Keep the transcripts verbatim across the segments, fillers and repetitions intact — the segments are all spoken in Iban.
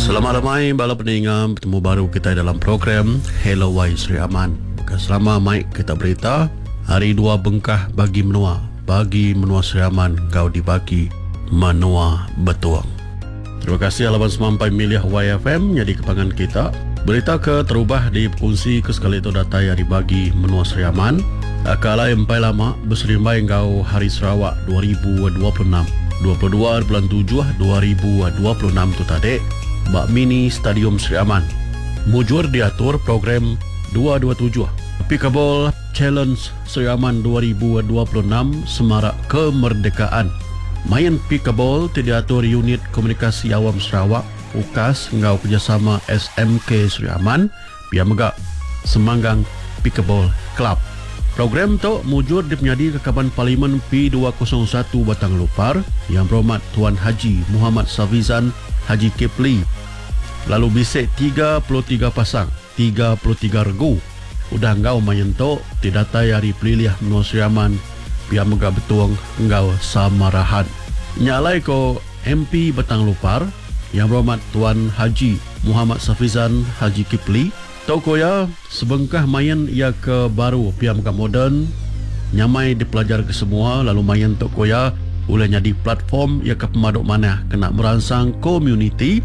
Selamat lemai bala peninga, betemu baru kitai dalam program Hello Wai Sri Aman. Baka selama mai kita berita hari dua bengkah bagi menua, bagi menua Sri Aman enggau dibagi menua Betong. Terima kasih laban semampai milih Y F M nyadi kepangan kita. Berita ke terubah dikongsi ke sekali tu datai hari bagi menua Sri Aman. Kalai empai lama berserimbai enggau Hari Sarawak dua ribu dua puluh enam. dua puluh dua bulan tujuh dua ribu dua puluh enam tu tadi ba Mini Stadium Sri Aman. Mujur diatur program dua dua tujuh Pickleball Challenge Sri Aman dua ribu dua puluh enam Semarak Kemerdekaan. Main pickleball ti diatur Unit Komunikasi Awam Sarawak U K A S enggau kerjasama S M K Sri Aman pia mega Semanggang Pickleball Club. Program tu mujur dipenyadi ke Kaban Parlimen P dua kosong satu Batang Lupar yang berhormat Tuan Haji Muhammad Safizan Haji Kepli. Lalu bisik tiga puluh tiga pasang, tiga puluh tiga regu. Udah enggau main tu ti datai hari pelilih menua Sri Aman pia mega Betong enggau Samarahan. Nyalai ko M P Batang Lupar yang berhormat Tuan Haji Muhammad Safizan Haji Kipli. Tau ko ya sebengkah main ia ke baru pia mega moden nyamai dipelajar ke semua lalu main tu ko ya ulih jadi platform ia ke pemaduk manah kena merangsang komuniti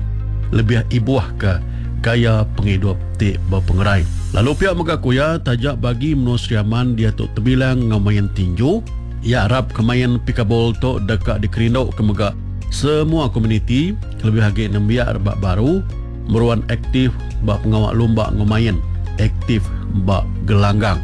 lebih ibuh ke gaya penghidup ti berpengerai. Lalu pihak mega kuya tajak bagi menua Sri Aman dia tu terbilang ngau main tinju. Ia harap kemain pickleball tu dekat dikerinduk ke mega semua komuniti lebih lagi nembiak rebak baru meruan aktif bak pengawak lumba ngau main aktif bak gelanggang.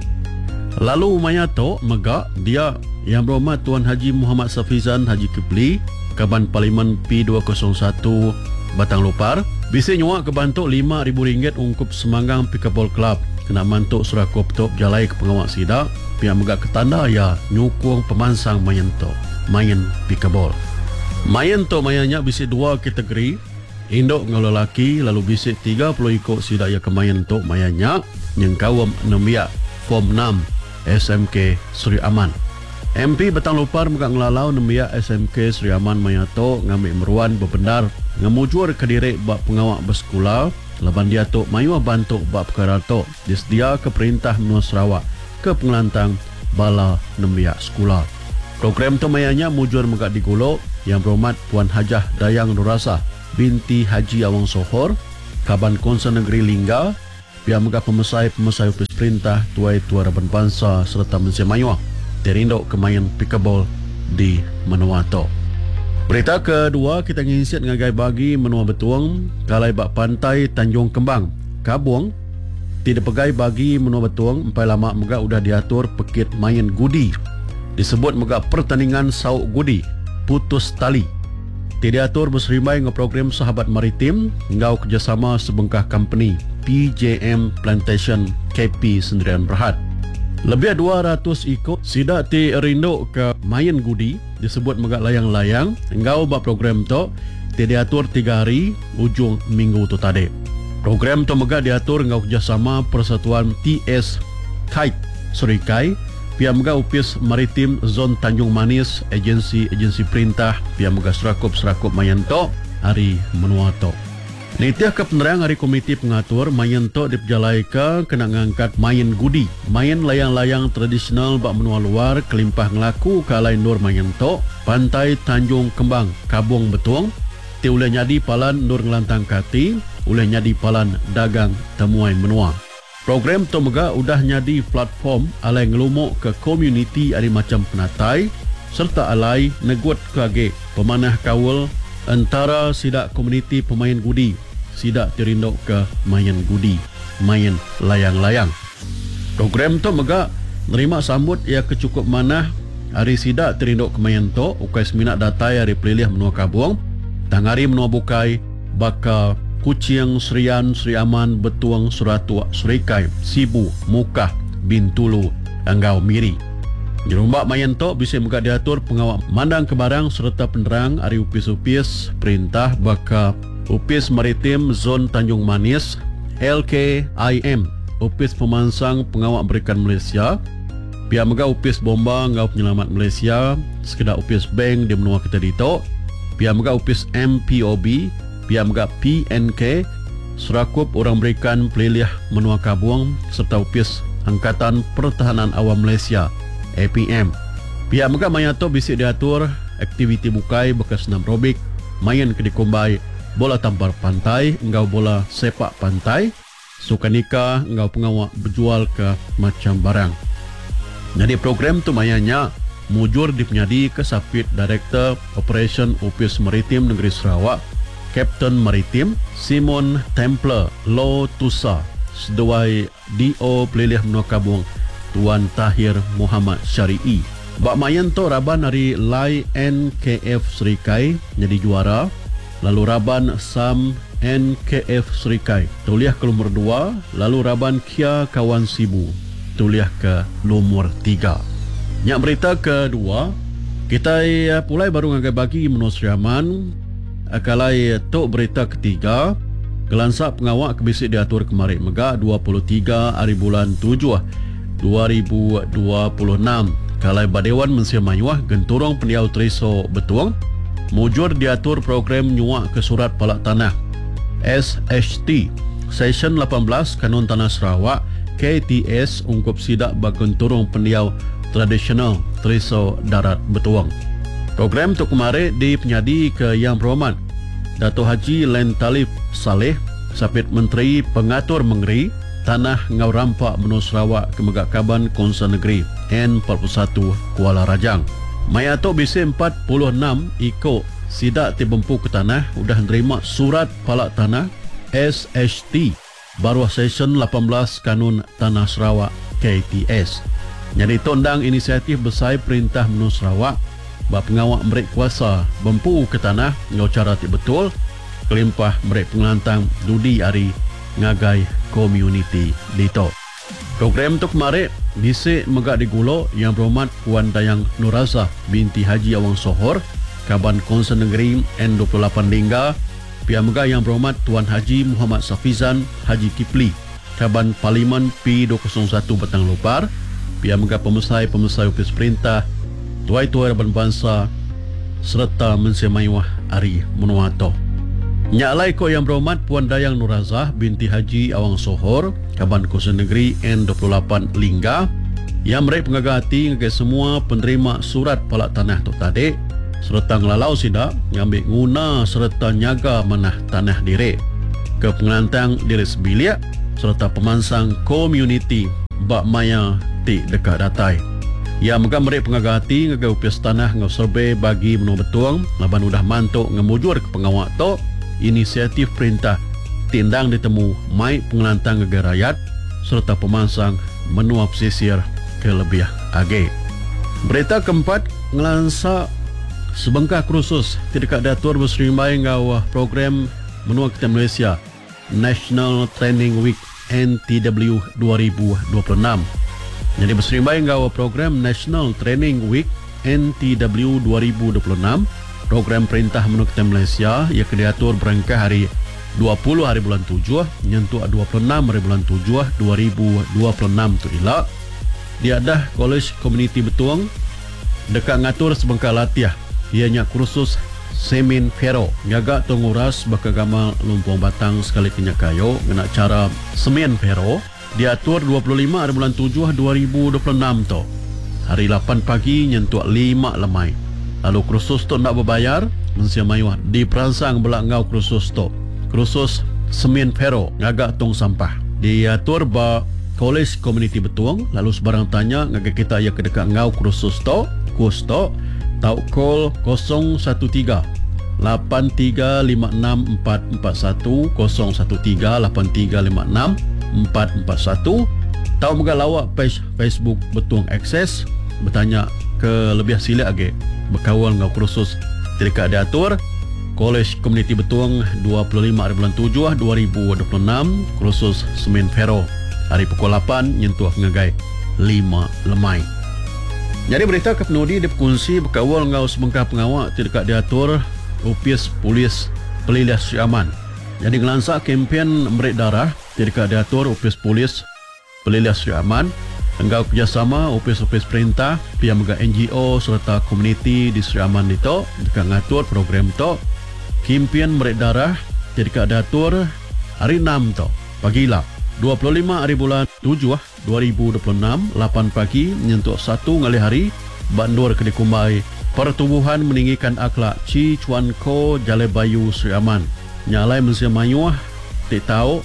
Lalu maya tu mega dia yang berhormat Tuan Haji Muhammad Safizan Haji Kipli Kaban Parlimen P dua kosong satu Batang Lupar bisa nyuak ke bantu lima ribu ringgit ungkup Semanggang Pickleball Club kena mantuk surakup tu berjalai ke pengawak sida pihak mega ketanda ya nyukung pemansang main tu main pickleball. Main tu mayanya bisi dua kategori induk ngau lelaki lalu bisi tiga puluh ikut sida ya kemain tu mayanya nyengkawam nembiak form enam S M K Sri Aman. M P Batang Lupar mega ngelalau nembiak S M K Sri Aman maya tu ngambil meruan berbendar ngemujur ke diri bak pengawak bersekolah laban dia tu mayuh bantu bak perkara tu disedia ke perintah menua Sarawak ke pengelantang bala nembiak sekolah. Program tu mayanya mujur mega diguluk yang berhormat Puan Hajah Dayang Nurasa binti Haji Awang Sohor, Kaban Konsel Negeri Lingga, pihak mega pemesai-pemesai opis perintah Tuai Tua Raban Bangsa serta Mensia Mayuh terinduk kemain pickleball di menua tu. Berita kedua kita nginsit ngagai bagi menua Betong kalai bak pantai Tanjung Kembang, Kabung ti dipegai bagi menua Betong empai lama mega udah diatur pekit main gudi. Disebut mega pertandingan sauk gudi putus tali. Ti diatur berserimbai dengan program Sahabat Maritim enggau kerjasama sebengkah company P J M Plantation K P Sendirian Berhad. Lebih dua ratus ikut sidak ti rindu ke main gudi disebut mega layang-layang enggau bak program tu ti diatur tiga hari ujung minggu tu tadi. Program tu mega diatur enggau kerjasama Persatuan T S Kite Serikai, pihak mega Upis Maritim Zon Tanjung Manis, agensi-agensi perintah, pihak mega serakup-serakup main tu hari menua tu. Nitiah ke penerang hari komiti pengatur main tu dipejalai ke kena ngangkat main gudi, main layang-layang tradisional bak menua luar kelimpah ngelaku ke alai nur main tu Pantai Tanjung Kembang, Kabung Betong, ti ulih nyadi palan nur ngelantang kati, ulih nyadi palan dagang temuai menua. Program tu mega udah nyadi platform alai ngelumuk ke komuniti ari macam penatai serta alai negut ke age pemanah kaul antara sidak komuniti pemain gudi, sidak tirinduk ke main gudi, main layang-layang. Program tu mega nerima sambut ia ke cukup manah ari sidak tirinduk ke main tu ukai semina datai ari pelilih menua Kabung, tang ari menua bukai baka Kuching, Serian, Sri Aman, Betong, Seratuk, Serikai, Sibu, Mukah, Bintulu, enggau Miri. Jerumbak main tu bisa mega diatur pengawak mandang ke barang serta penerang ari upis-upis perintah baka Upis Maritim Zon Tanjung Manis, L K I M, Upis Pemansang Pengawak Berikan Malaysia, pihak mega Upis Bomba enggau Penyelamat Malaysia, sekedar Upis Bank di menua kita ditu, pihak mega Upis M P O B, pia mega P N K, Serakup Orang Berikan Pelilih Menua Kabong serta Opis Angkatan Pertahanan Awam Malaysia A P M. Pia mega maya tu bisi diatur aktiviti bukai bekas senam aerobik, main ke dikumbai bola tampar pantai enggau bola sepak pantai, sukanika enggau pengawa berjual ke macam barang. Jadi program tu mayanya mujur dipenyadi ke Sapit Director Operation Opis Maritim Negeri Sarawak, Kapten Maritim Simon Templer Lo Tusa, seduai D O Pelilih Menua Kabong Tuan Tahir Muhammad Syari'i. Bak main tu raban ari Lai N K F Serikai jadi juara, lalu raban Sam N K F Serikai tuliah ke lumur dua, lalu raban Kia Kawan Sibu tuliah ke lumur tiga. Nyak berita kedua, kita pulai baru ngagai bagi Menua Sri Aman. Akalai tu berita ketiga, kelansa pengawak kebisi diatur kemarin mega dua puluh tiga hari bulan tujuh dua ribu dua puluh enam. Kalai Badewan Mensia Mayuah Genturung Pendiau Triso Betuang mujur diatur program nyuak ke surat palak tanah S H T Session lapan belas Kanun Tanah Sarawak K T S ungkup sidak ba Genturung Pendiau Tradisional Triso Darat Betuang. Program tu kemarin dipenyadi ke Yang Berhormat Dato' Haji Len Talif Saleh, Sapit Menteri Pengatur Mengeri Tanah Ngau Rampak Menua Sarawak ke mega Kaban Konsel Negeri N empat puluh satu Kuala Rajang. Maya tu bisi empat puluh enam iko sidak ti bempu ke tanah udah nerima surat palak tanah S H T baruh Session lapan belas Kanun Tanah Sarawak K T S. Jadi tu endang inisiatif besar Perintah Menua Sarawak bak pengawak merik kuasa bempu ke tanah ngau cara ti betul kelimpah merik pengelantang dudi ari ngagai komuniti dito. Program tu kemarin bisi mega digulo Yang Berhormat Puan Dayang Nurazah binti Haji Awang Sohor, Kaban Konsel Negeri N dua puluh lapan Lingga, pia mega Yang Berhormat Tuan Haji Muhammad Safizan Haji Kipli, Kaban Parlimen P dua kosong satu Batang Lupar, pia mega pemesai-pemesai Opis Perintah, tuai-tuai raban bangsa serta Mensia Mayuah ari menua tu. Nyak lai ko Yang Berhormat Puan Dayang Nurazah binti Haji Awang Sohor, Kaban Konsel Negeri N dua puluh lapan Lingga, yang merik pengaga hati ngagai semua penerima surat palak tanah tu tadi serta ngelalau sidak ngambil nguna serta nyaga manah tanah diri ke pengelantang diri sebilik serta pemansang komuniti bak maya ti dekat datai. Ya mega merik pengaga hati ngagai upis tanah ngau survey bagi menua Betuang laban udah mantuk ngemujur ke pengawak tu inisiatif perintah tindang ditemu mai pengelantang ngagai rakyat serta pemansang menua pesisir ke lebih agi. Berita keempat ngelansa sebengkah kursus tidak diatur berserimbai ngau program menua kita Malaysia National Training Week N T W dua ribu dua puluh enam. Jadi berserimbai ngau program National Training Week N T W dua ribu dua puluh enam, program perintah menua kita Malaysia yang diatur berangkat hari dua puluh hari bulan tujuh nyentuk dua puluh enam hari bulan tujuh dua ribu dua puluh enam tu ila. Diadah College Community Betuang dekat ngatur sebengkah latiah ianya kursus Semin Ferro ngaga tunguras bakal gamal lumpung batang sekali kenyak kayu ngena cara Semin Ferro diatur dua puluh lima hari bulan tujuh dua ribu dua puluh enam tu hari lapan pagi nyentuk lima lemai. Lalu kursus tu nak berbayar, mensia mayuh diperansang belak ngau kursus tu. Kursus Semin Ferro ngaga tong sampah diatur ba College Community Betuang. Lalu sebarang tanya ngagai kita yang kedekat ngau kursus tu, kurs tu tau call kosong satu tiga lapan tiga lima enam empat empat satu, kosong satu tiga lapan tiga lima enam empat empat satu. Tau mega lawak page Facebook Betuang Access bertanya ke lebih silat lagi berkawal ngau kursus dekat diatur College Community Betuang dua puluh lima hari bulan tujuh dua ribu dua puluh enam, kursus Semin Ferro hari pukul lapan nyentuh ngagai lima lemai. Jadi berita ke penudi diperkongsi berkawal ngau sebengkah pengawak dekat diatur Upis Polis Pelilih Sri Aman. Jadi ngelansa kempen merik darah dekat diatur Upis Polis Pelilih Sri Aman enggau kerjasama upis-upis perintah, pihak mega N G O serta komuniti di Sri Aman itu dekat ngatur program tu kempen merik darah ti deka diatur Hari Enam tu, pagila, dua puluh lima haribulan tujuh dua ribu dua puluh enam, lapan pagi nyentuk satu ngalih hari ba endur ke dikumbai Pertubuhan Meninggikan Akhlak Chi Chuan Kho, Jalai Bayu, Sri Aman. Nya alai mensia mayuh ti tau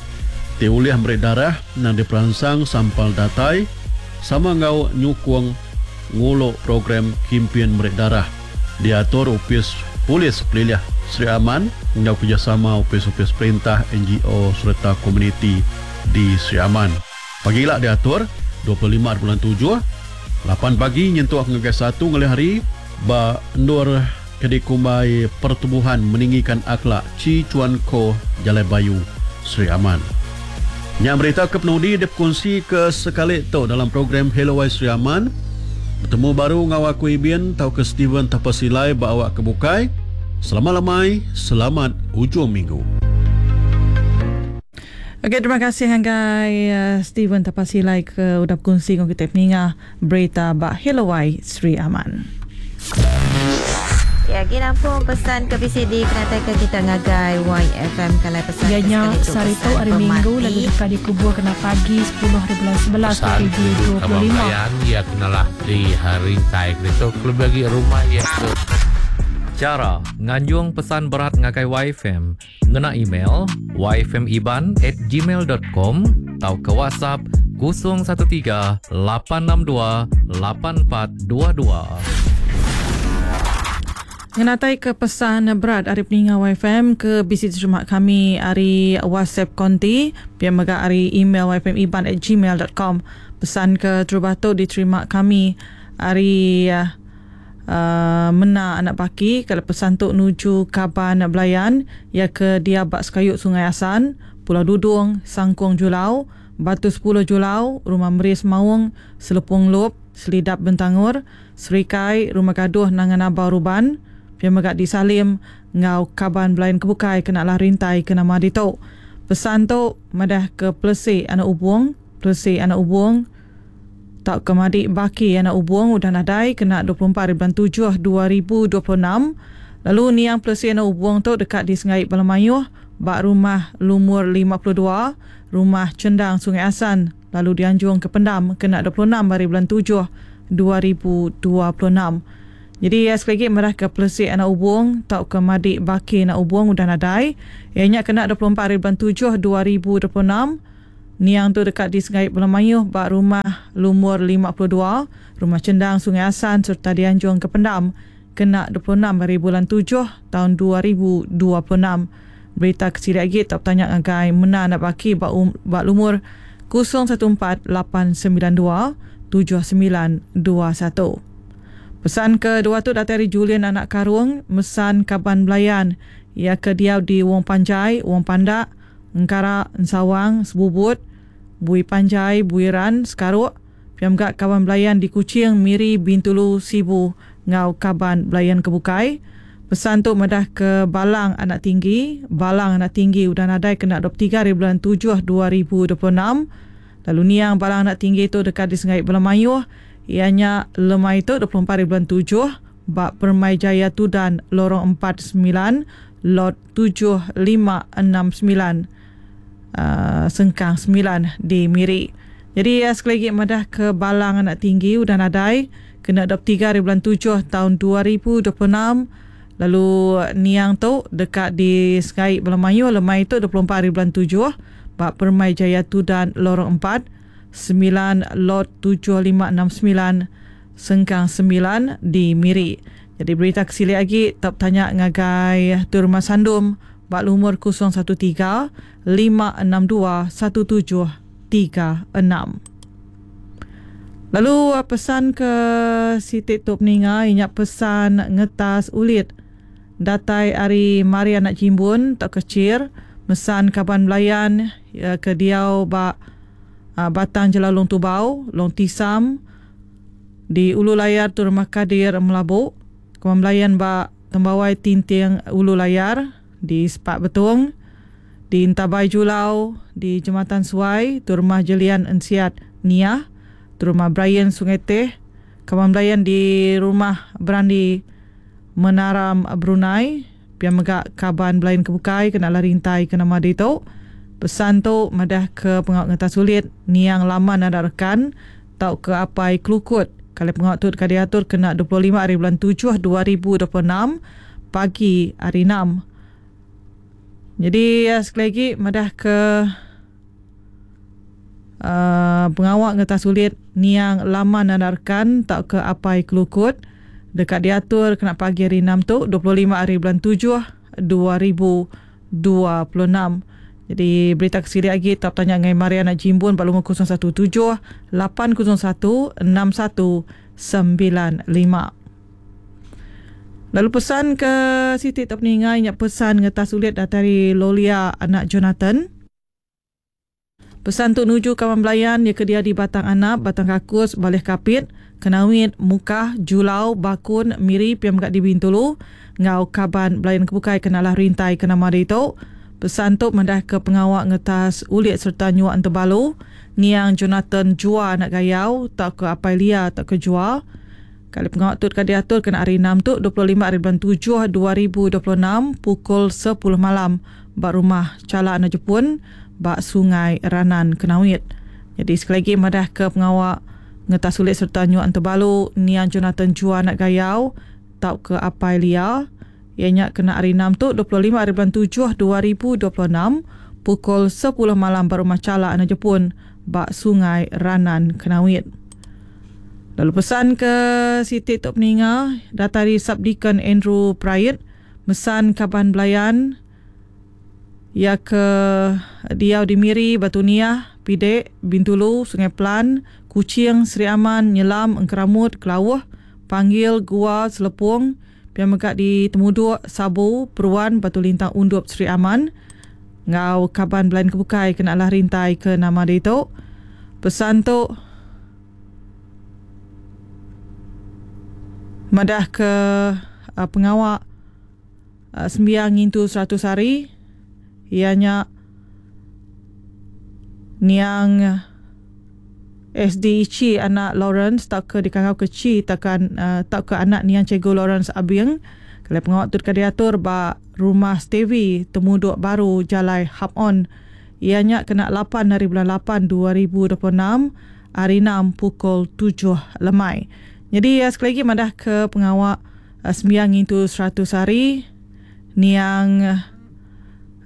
ti ulih meri darah endang diperansang sampal datai sama enggau nyukung ngulu program kimpin meri darah diatur Opis Polis Pelilih Sri Aman enggau kerejasama opis-opis perintah, N G O sereta komuniti di Sri Aman. Pagila diatur dua puluh lima bulan tujuh, lapan pagi nyentuk ngagai satu ngalih hari ba endur ke dikumbai Pertubuhan Meninggikan Akhlak Chi Chuan Kho, Jalai Bayu, Sri Aman. Nya berita ke penudi dipekunsi ke sekali tu dalam program Hello Y Sri Aman. Bertemu baru ngau aku Ibin tauka Steven Tapasilai ba awak ke bukai. Selamat lemai, selamat ujung minggu. Okey, terima kasih hanggai uh, Steven Tapasilai ke udah berkongsi dengan kita peninga berita ba Hello Y Sri Aman. Ya, gini nampung pesan ke B C D kena ke kita ngagai Y F M kalau pesan Ya, ke nya, sekali tu sehari tu pesan hari Minggu pemati. Lalu dekat dikubur kena pagi sepuluh hari bulan sebelas Pesan dua ribu dua puluh lima. Kabar ya kenalah di hari tai itu lebih bagi rumah ya ke. Cara nganjung pesan berat ngagai Y F M ngena email y f m iban at gmail dot com atau ke WhatsApp kosong satu tiga lapan enam dua lapan empat dua dua. Ngenatai ke pesan berat hari peninga Y F M ke B C terima kami hari WhatsApp konti, biar mega hari email y f m iban at gmail dot com. Pesan ke terubah tu diterima kami hari, uh, mena anak baki. Kalau pesan tu nuju Kaban Belayan ya ke dia bak Sekayuk Sungai Asan, Pulau Dudung, Sangkung Julau, Batu sepuluh Julau, Rumah Meris Maung, Selepung Lop, Selidap Bentangur, Serikai, Rumah Gaduh Nangan Abau Ruban, Pia megak di Salim, ngau Kaban Belayan Kebukai kena lah rintai ke nama ditu. Pesan tu madah ke Plesi anak Ubung, Plesi anak Ubung, tak ke Madik Baki anak Ubung udah nadai kena dua puluh empat hari bulan tujuh dua ribu dua puluh enam. Lalu niang Plesi anak Ubung tu dekat di Sengaik Balamayuh, bak rumah lumur lima puluh dua, rumah Cendang Sungai Asan, lalu dianjung ke Pendam kena dua puluh enam hari bulan tujuh dua ribu dua puluh enam. Jadi ya, sekali lagi merah ke Plesi anak Ubung tau ke Madik Baki anak Ubung udah nadai. Ianya kena dua puluh empat hari bulan tujuh dua ribu dua puluh enam. Niang tu dekat di Sengaik Belamayuh bak rumah lumur lima puluh dua, rumah Cendang Sungai Asan serta dianjung ke Pendam kena dua puluh enam hari bulan tujuh tahun dua ribu dua puluh enam. Berita kecil lagi tak bertanya ngagai mena anak baki bak, um, bak lumur kosong satu empat lapan sembilan dua tujuh sembilan dua satu. Pesan kedua tu datang dari Julian anak Karung, mesan Kaban Belayan. Ia ke diau di Wong Panjai, Wong Pandak, Engkara, Ensawang, Sebubut, Bui Panjai, Buiran, Sekaruk. Piam gak Kaban Belayan di Kuching, Miri, Bintulu, Sibu, ngau Kaban Belayan Kebukai. Pesan tu madah ke Balang Anak Tinggi. Balang Anak Tinggi udah nadai kena dua puluh tiga hari bulan tujuh dua ribu dua puluh enam. Lalu niang Balang Anak Tinggi tu dekat di Sengaik Belamayuh. Ianya lemai tu dua puluh empat hari bulan tujuh bak Permai Jaya Tudan lorong empat sembilan lot tujuh lima enam sembilan, uh, Sengkang sembilan di Miri. Jadi ya, sekali lagi madah ke Balang Anak Tinggi udah nadai kena dua puluh tiga hari bulan tujuh tahun dua ribu dua puluh enam. Lalu niang tu dekat di Sengaik Belamayu lemai tu dua puluh empat hari bulan tujuh bak Permai Jaya Tudan lorong empat sembilan lot tujuh lima enam sembilan Sengkang sembilan di Miri. Jadi berita kesili lagi tak tanya ngagai tu rumah sandum bak lumur kosong satu tiga lima enam dua satu tujuh tiga enam. Lalu pesan ke Siti Tok Peninga inyak pesan ngetas ulit datai ari Mari anak Jimbun tak kecil mesan Kaban Belayan ya, ke diau bak Batang Jelau Long Tubau, Long Tisam di Ulu Layar tu rumah Kadir Melabuk, Kaban Belayan bak Tembawai Tinting Ulu Layar di Sepak Betung, di Intabai Julau di Jembatan Suai tu rumah Jelian Ensiat Niah, tu rumah Brian Sungai Teh, Kaban Belayan di rumah Berandi Menaram Brunei, Pia mega kaban belayan kebukai kena lah rintai ke nama ditu. Pesan tu madah ke pengawak ngetas sulit niang lama nada rekan tau ke apai kelukut. Kali pengawak tu dekat diatur kena dua puluh lima hari bulan tujuh dua ribu dua puluh enam pagi hari enam. Jadi sekali lagi madah ke uh, pengawak ngetas sulit niang lama nada rekan tau ke apai kelukut dekat diatur kena pagi hari enam tu dua puluh lima hari bulan tujuh dua ribu dua puluh enam. Jadi berita kesiri lagi tetap tanya dengan Mariana Jimbun pada lumur kosong satu tujuh lapan kosong satu enam satu sembilan lima. Lalu pesan ke Siti tak peningai nyak pesan ngetas ulit dari Lolia anak Jonathan. Pesan tu nuju kawan belayan ya ke dia di Batang Anap, Batang Kakus, Balih Kapit, Kenawit, Mukah, Julau, Bakun, Miri, Piam Gak di Bintulu, ngau kaban belayan kebukai kenalah rintai ke nama dia itu. Pesan tu mendah ke pengawak ngetas ulit serta nyuak entebalu, niang Jonathan Jua anak gayau, tak ke apai lia, tak ke Jua. Kali pengawak tu dekat diatur kena hari enam tu, dua puluh lima hari bulan tujuh dua ribu dua puluh enam, pukul sepuluh malam, bak rumah Cala Anak Jepun, bak Sungai Ranan Kenawit. Jadi sekali lagi madah ke pengawak ngetas ulit serta nyuak entebalu, niang Jonathan Jua anak gayau, tak ke apai lia. Ianya kena hari enam tu dua puluh lima hari bulan tujuh dua ribu dua puluh enam pukul sepuluh malam baru rumah Cala Anak Jepun bak Sungai Ranan Kenawit. Lalu pesan ke Siti Tok Peninga datari Subdeacon Andrew Prayet mesan kaban belayan ya ke diau di Miri, Batu Niah, Pidek, Bintulu, Sungai Pelan, Kuching, Seri Aman, Nyelam, Engkeramut, Kelauh, Panggil, Gua, Selepung, Pia megak di Temuduk, Sabu, Peruan, Batu Lintang, Undup, Seri Aman. Ngau kaban belayan kebukai kena lah rintai ke nama dia itu. Pesan tu madah ke uh, pengawak uh, sembiang ngintu seratus hari. Ianya niang S D Ichi anak Lawrence tak ke dikangau ke Ci takkan uh, tak ke anak niang Cikgu Lawrence Abieng. Kalau pengawak tu dekat diatur ba rumah Stevie Temuduk Baru Jalai Hap On. Ianya kena lapan hari bulan lapan dua ribu dua puluh enam hari enam pukul tujuh lemai. Jadi ya, sekali lagi madah ke pengawak uh, sembiang itu seratus hari niang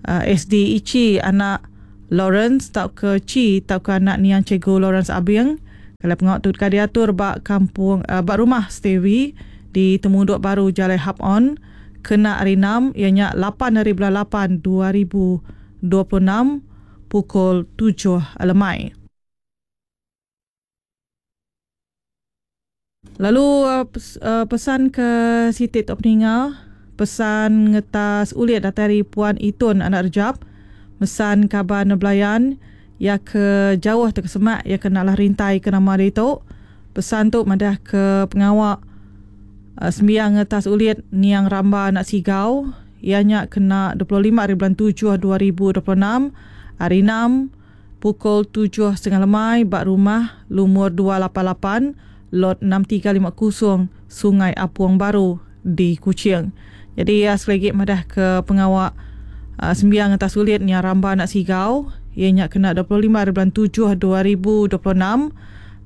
uh, S D Ichi anak Lawrence tak ke Ci tak ke anak niang Cikgu Lawrence Abieng. Kalau pengawak tu dekat diatur bak kampung uh, bak rumah Stevie di Temuduk Baru Jalai Hap On kena hari enam ianya lapan hari bulan lapan dua ribu dua puluh enam pukul tujuh lemai. Lalu uh, pesan ke Siti Tok Peninga, pesan ngetas ulit datari Puan Itun anak Rejab, mesan kaban belayan ya ke jauh terkesemak ya kena lah rintai ke nama dia itu. Pesan tu madah ke pengawak uh, sembiang ngetas ulit niang Ramba anak Sigau ianya kena dua puluh lima hari bulan tujuh dua ribu dua puluh enam hari enam pukul tujuh setengah lemai bak rumah lumur dua lapan lapan lot enam tiga lima kosong Sungai Apuang Baru di Kuching. Jadi ya, sekali lagi madah ke pengawak Uh, sembiang atas sulit ni Ramba anak Sigau ianya kena dua puluh lima hari bulan tujuh dua ribu dua puluh enam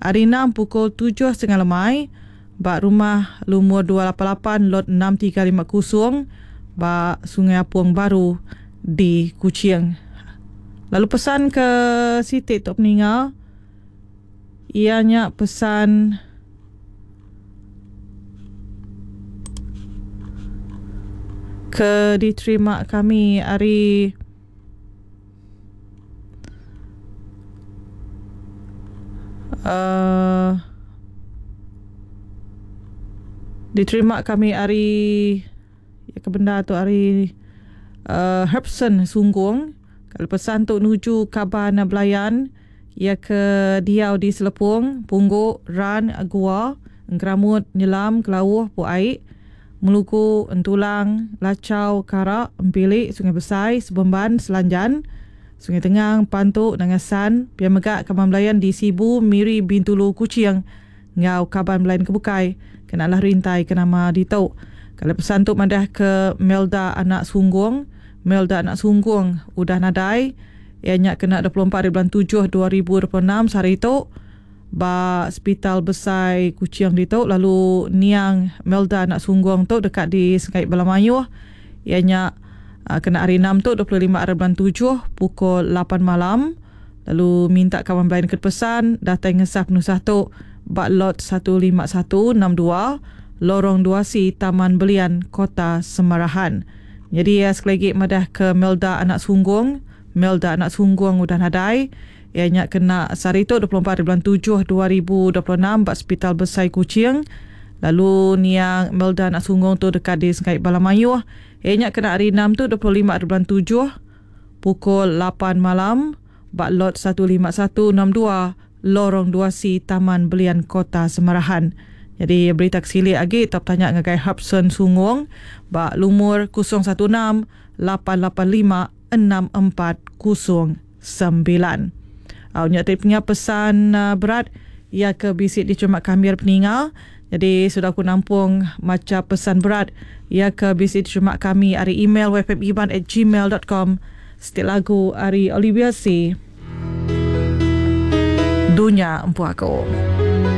hari enam pukul tujuh setengah lemai bak rumah lumur dua lapan lapan lot enam tiga lima kosong bak Sungai Apuang Baru di Kuching. Lalu pesan ke Siti Tok Peninga ianya pesan ke diterima kami hari uh, diterima kami hari ya ke benda tu hari uh, Herbson Sunggung. Kalau pesan tu nuju kaban belayan ya ke diau di Selepung, Pungguk, Ran, Gua, Engkeramut, Nyelam, Kelauh, Puaik, Meluku, Entulang, Lacau, Karak, Empilik, Sungai Besai, Sebemban, Selanjan, Sungai Tengang, Pantuk, Nangasan, Pia Megak, Kaban Belayan di Sibu, Miri, Bintulu, Kuching, Ngau Kaban Belayan Kebukai, kenalah rintai ke nama ditu. Kalau pesan tu madah ke Melda anak Sunggung, Melda anak Sunggung udah nadai. Ianya kena dua puluh empat hari bulan tujuh dua ribu dua puluh enam sehari tu ba Hospital Besai Kuching ditu. Lalu niang Melda anak Sunggung tu dekat di Sengkait Balamayuh. Ianya kena hari enam tu dua puluh lima hari bulan tujuh pukul lapan malam. Lalu minta kawan belayan ke pesan datai ngesah penusah tu ba lot satu lima satu enam dua Lorong dua C Taman Belian Kota Semarahan. Jadi ya, sekali lagi madah ke Melda anak Sunggung, Melda anak Sunggung udah nadai. Ianya kena sehari tu dua puluh empat hari bulan tujuh dua ribu dua puluh enam ba Hospital Besai Kuching. Lalu niang Melda anak Sunggung tu dekat di Sengkait Balamayuh. Ianya kena hari enam tu dua puluh lima hari bulan tujuh pukul lapan malam ba lot satu lima satu enam dua Lorong dua C Taman Belian Kota Semarahan. Jadi berita kesilik lagi top tanya ngagai Hobson Sunggung ba lumur kosong satu enam lapan lapan lima enam empat kosong sembilan. Au nya tadi punya pesan uh, berat ia ke bisik dicermat kami peninga. Jadi sudah aku nampung maca pesan berat ia ke bisik dicermat kami ari email w f m iban at gmail dot com. Setiap lagu ari Olivia C. Dunia Empu Aku.